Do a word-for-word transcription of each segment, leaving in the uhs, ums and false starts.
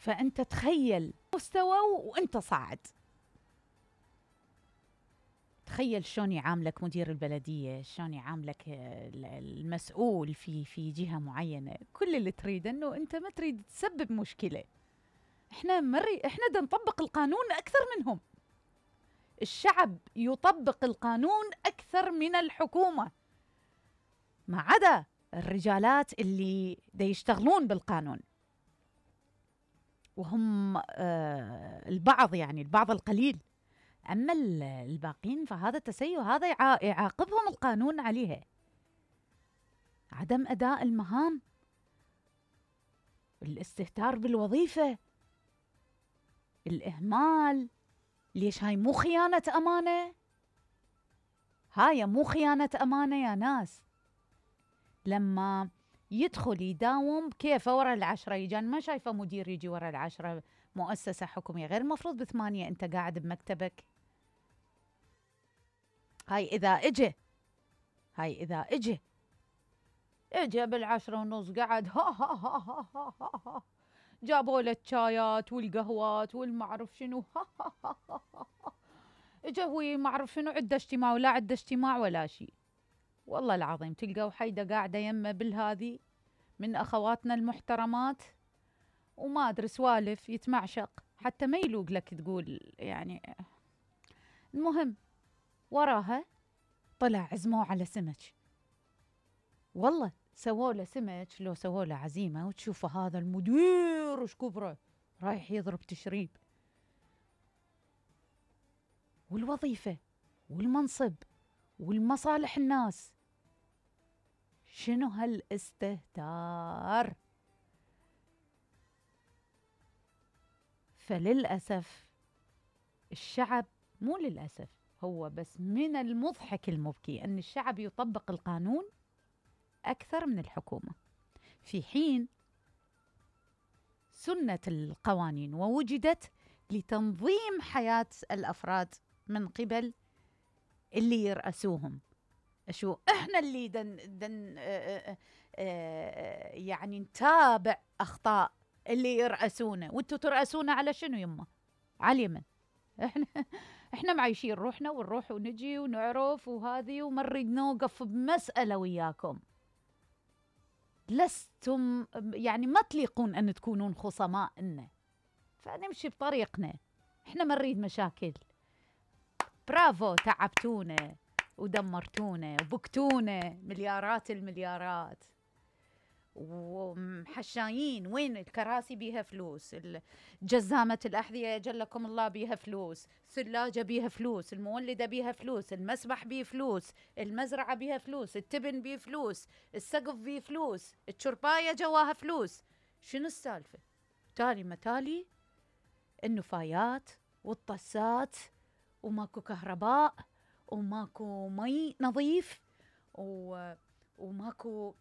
فأنت تخيل مستوى وأنت صاعد. تخيل شلون يعاملك مدير البلدية، شلون يعاملك المسؤول في في جهة معينة. كل اللي تريد أنه أنت ما تريد تسبب مشكلة. إحنا مري إحنا دا نطبق القانون أكثر منهم. الشعب يطبق القانون أكثر من الحكومة، ما عدا الرجالات اللي دا يشتغلون بالقانون، وهم آه البعض، يعني البعض القليل. أما الباقين فهذا تسيء، هذا يعاقبهم القانون عليها. عدم أداء المهام، الاستهتار بالوظيفة، الإهمال. ليش هاي مو خيانة أمانة؟ هاي مو خيانة أمانة يا ناس. لما يدخل يداوم كيف ورا العشرة يجان، ما شايفة مدير يجي ورا العشرة مؤسسة حكومية، غير مفروض بثمانية أنت قاعد بمكتبك. هاي إذا إجي هاي إذا إجي إجي بالعشرة ونص قعد ها ها ها ها ها ها ها جابوا له الشايات والقهوات والمعرف شنو ها ها ها ها ها إجا هو معرف شنو عنده اجتماع ولا عنده اجتماع ولا شيء. والله العظيم تلقوا حيدة قاعدة يمه بالهذي من أخواتنا المحترمات وما أدري سوالف يتمعشق حتى ما يلوق لك تقول يعني. المهم وراها طلع عزموه على سمك. والله سووا له سمك، لو سووا له عزيمة وتشوفوا هذا المدير وش كبره رايح يضرب تشريب. والوظيفة والمنصب والمصالح الناس، شنو هالاستهتار؟ فللأسف الشعب، مو للأسف، هو بس من المضحك المبكي أن الشعب يطبق القانون أكثر من الحكومة، في حين سنة القوانين ووجدت لتنظيم حياة الأفراد من قبل اللي يرأسوهم. شو إحنا اللي دن دن آآ آآ يعني نتابع أخطاء اللي يرأسونه، وانتو ترأسونا على شنو يمه؟ على اليمن. إحنا إحنا معيشين روحنا ونروح ونجي ونعرف وهذه، وما نريد نوقف بمسألة وياكم. لستم يعني ما تليقون أن تكونون خصماء لنا، فنمشي بطريقنا. إحنا ما نريد مشاكل. برافو، تعبتونا ودمرتونا وبكتونا مليارات المليارات، ومحشايين. وين الكراسي بيها فلوس، جزامة الأحذية جلكم الله بيها فلوس، ثلاجة بيها فلوس، المولدة بيها فلوس، المسبح بيه فلوس، المزرعة بيها فلوس، التبن بيه فلوس، السقف بيه فلوس، الشرباية جواها فلوس. شنو السالفة؟ تالي متالي النفايات والطسات، وماكو كهرباء، وماكو مي نظيف، و... وماكو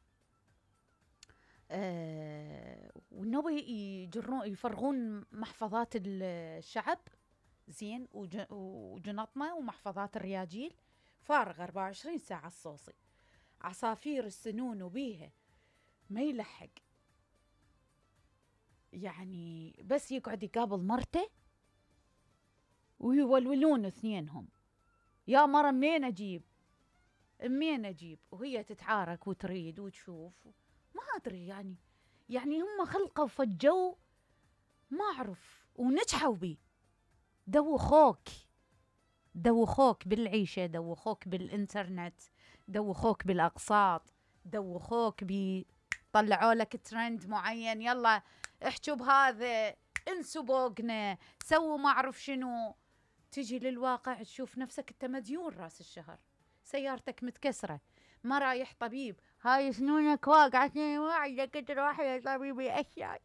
آه... ونبي يجرون يفرغون محفظات الشعب زين، وج... وجنطمة ومحفظات الرياجيل فارغة أربعة وعشرين ساعة الصوصي. عصافير السنون وبيها ما يلحق، يعني بس يقعد يقابل مرته ويولولون اثنينهم، يا مرة منين أجيب منين أجيب، وهي تتعارك وتريد وتشوف. ما أدري يعني يعني هم خلقوا فجوا ما أعرف ونجحوا بيه. دوخوك دوخوك بالعيشة، دوخوك بالإنترنت، دوخوك بالأقساط، دوخوك بي طلعوا لك ترند معين، يلا احجوا بهذا، انسوا بوقنا، سووا ما أعرف شنو. تجي للواقع تشوف نفسك انت مديون راس الشهر، سيارتك متكسرة، ما رايح طبيب، هاي سنونك واقعة، ما عندك تروح يا طبيبي أشياء